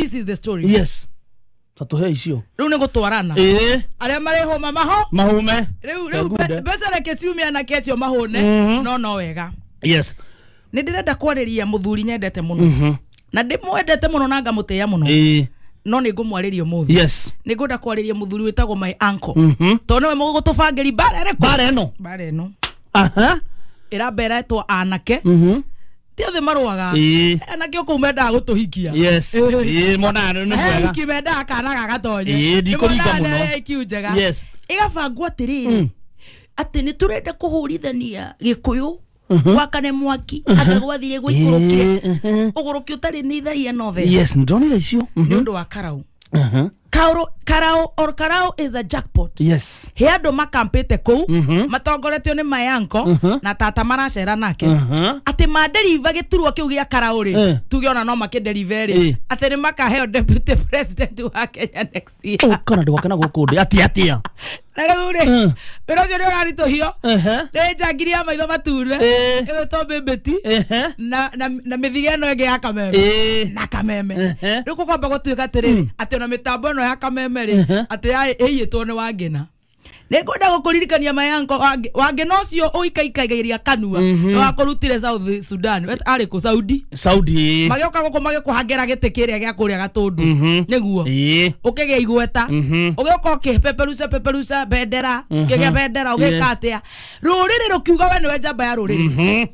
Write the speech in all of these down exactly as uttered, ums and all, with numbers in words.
this is the story. Yes. Tatuhe icio. Riu ni gutwarana. Eh. Aria marihuma maho. Mahume. Riu riu mbeca reke ciumia na kecio mahune. No no wega. Yes. Ni ndirenda kwariria muthuri nyendete muno. Na ndimwendete muno na ngamutia muno. Eh. No ni ngumwariria umuthi. Yes. Ni ngwenda kwariria muthuri witagwo my uncle. To niwe mugutubangiri bara iriku? Bara eno. Bara eno. Aha. Irambera etwo anake. Mhm. Ti othe marũaga. Anake o kũu mendaga gũtũhikia. Yes. Ĩĩ mona nĩ mwega. Hiki mendaga kana gagatonye. Ĩĩ ndikũringa mũno. I Q njega. Yes. Ĩgabangwo atĩrĩrĩ. Atĩ nĩ tũrenda kũhũrithania Gĩkũyũ wakane mwaki anga gwathire gũikũrũkire ũgũrũki ũtarĩ nĩ ithahia no the. Yes, ndonire icio. Nĩ ũndũ wa karau. Mhm. Kauro karau or karau is a jackpot. Yes. He andu makampite kuu matongoretio ni mayanko na tata maracera nake. Ati maderiva giturwa kiu gia karau ri tuge ona no makiderive ri ati ni makaheo deputy president wa Kenya next year. Oh kana ndwakena guku ndi ati atia. Na riu ri wira ucio ni uraritũhio ni njangiri ya maitho matune ĩgwĩtwo Mbĩmbĩti na na mĩthige ĩno ĩngĩ ya kameme na kameme rĩu gũkwamba gũtuĩka atĩrĩrĩ atĩ ona mĩtambo ĩno ya kameme rĩ atĩ ĩiyĩtwo nĩ Wangĩna. Nĩngwenda gũkũririkania mayanko Wangĩna ũcio ũikaikaigĩria kanua nĩ wakũrutire South Sudan arĩ kũ Saudi Saudi magĩũka gũkũ magĩkũhangĩra gĩtĩ kĩrĩa gĩa kũrĩa Gatũndũ nĩguo ũkĩgĩa igweta ũgĩũka ũkĩpeperuca peperuca bendera ũkĩgĩa bendera ũgĩka atĩa rũrĩrĩ rũkiuga we nĩwe njamba ya rũrĩrĩ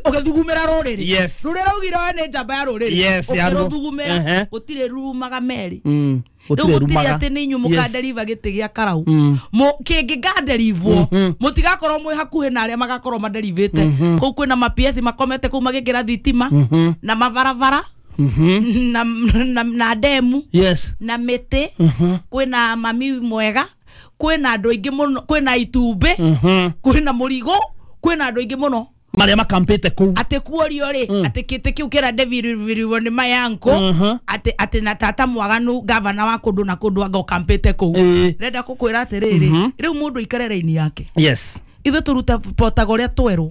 ũgĩthugumĩra rũrĩrĩ rũrĩa raugire we nĩ njamba ya rũrĩrĩ ũkĩrũthugumĩra gũtirĩ rumaga merĩ. Rĩu gũtirĩ atĩ nĩ inyuĩ mũkanderiva gĩtĩ gĩa karau kĩngĩkanderivwo mũtigakorwo mwĩ hakuhĩ na arĩa magakorwo maderivĩte kũu kwĩna ma P S makomete kũu magĩkĩra thitima na mabarabara na na demu na mĩtĩ kwĩna mami mwega kwĩna andũ aingĩ mũno kwĩna itumbĩ kwĩna mũrigo kwĩna andũ aingĩ mũno maria makampete kuu ati kuorio ri ati kiti kiu kira deviriviriwo ni mayanko ati ati na tata mwaganu gavana wa kundu na kundu anga ukampete kuu renda kukwira atiriri riu mundu ikare raini yake. Yes. Ithuĩ tũruta potaga ũrĩa twerwo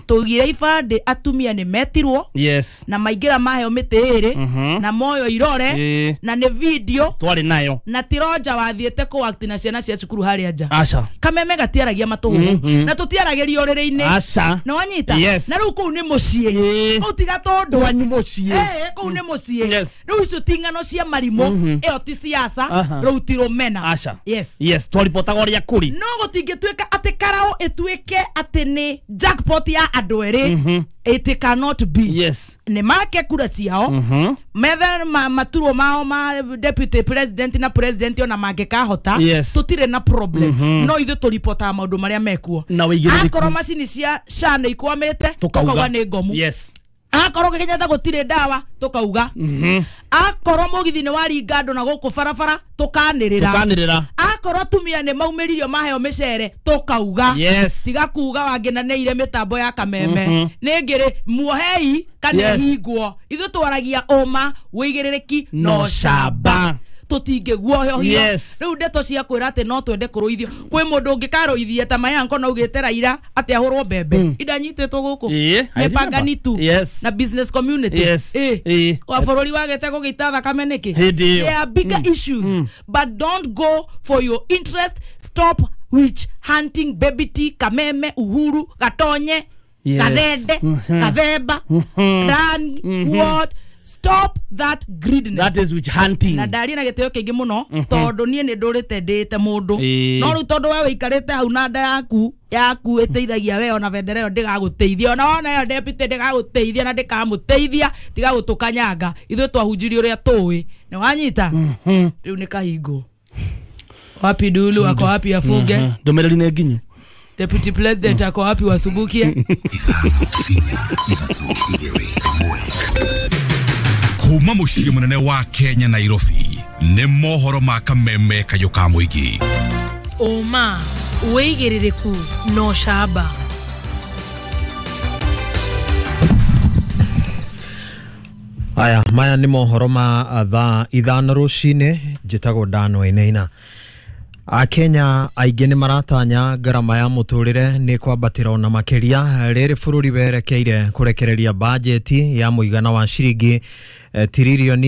tũigire ibandĩ atumia nĩ metirwo. Yes. Na maingĩra maheo mĩtĩ ĩrĩ na moyo irore na nĩ video twarĩ nayo na ti Roger wathiĩte kũ na ciana cia cukuru harĩa nja. Aca. Kameme gatiaragia matũhũhũ na tũtiaragĩria ũrĩrĩ-inĩ. Aca. Na wanyita. Yes. Na rĩu kũu nĩ mũciĩ kũu tiga tondũ kwanyu mũciĩ eh kũu nĩ mũciĩ. Yes. Rĩu icio ti ng'ano cia marimũ ĩyo ti siasa rĩu ti rũmena. Aca. Yes. Yes, twaripotaga ũrĩa kũrĩ no gũtingĩtuĩka atĩ karau ĩtuĩke atĩ nĩ jackpot ya andũ erĩ. It cannot be. Yes. Nĩ make kura ciao methe maturwo mao ma deputy president na president ona mangĩkahota. Yes. Tũtirĩ na problem no ithuĩ tũripotaga maũndũ marĩa mekuo. Akorwo macini cia S H A nĩ ikwamĩte tũkauga nĩ ngomu. Yes. Akorwo Kenyatta gũtirĩ ndawa tũkauga. Akorwo mũgithi nĩ waringa andũ na gũkũ barabara tũkanĩrĩra. Tũkanĩrĩra. Akorwo atumia nĩ maumĩririo maheo mĩcere tũkauga. Yes. Tiga kuga Wangĩna nĩ ire mĩtambo ya kameme nĩ ngĩrĩ muohei kana hingwo. Ithuĩ twaragia ũma wĩigĩrĩrĩki no camba tũtingĩguoyohio. Yes. Rĩu ndeto cia kwĩra atĩ no twende kũrũithio kwĩ mũndũ ũngĩkarũithia ta mayanko na ugĩte Raila atĩ ahũrwo mbembe indanyitĩtwo gũkũ mĩpangani tu. Yes. Na business community. Yes. Eh wa bũrũri wagĩte gũgĩita thakame nĩkĩ. There are bigger issues but don't go for your interest. Stop witch hunting Baby T, Kameme, Uhuru, Gatonye, Gathende, Gathemba, Run, what. Stop that greediness. That is witch hunting. Na ndaria na gĩtĩo kĩingĩ mũno tondũ niĩ nĩ ndũrĩte ndĩte mũndũ no rĩu tondũ we wĩikarĩte hau na nda yaku yaku ĩteithagia we ona bendera ĩyo ndĩgagũteithia ona wona ĩyo deputy ndĩgagũteithia na ndĩkamũteithia tiga gũtũkanyanga ithuĩ twahunjirie ũrĩa tũĩ nĩ wanyita rĩu nĩ kahingo wapi dulu wako wapi afuge ndũmĩrĩri nĩ nginyu deputy president ako wapi wasubukie kuma muciĩ munene wa Kenya Nairobi nĩ mohoro ma kameme kayũ ka mũingĩ. Ũma wĩigĩrĩrĩku no camba. Aya maya nĩ mohoro ma thaa ithano rũcinĩ njĩtagwo Dan Wainaina. Akenya aingĩ nĩ maratanya ngarama ya mũtũrĩre nĩ kwambatĩra ona makĩria rĩrĩ bũrũri werekeire kũrekereria bajeti ya mũigana wa ciringi tiririoni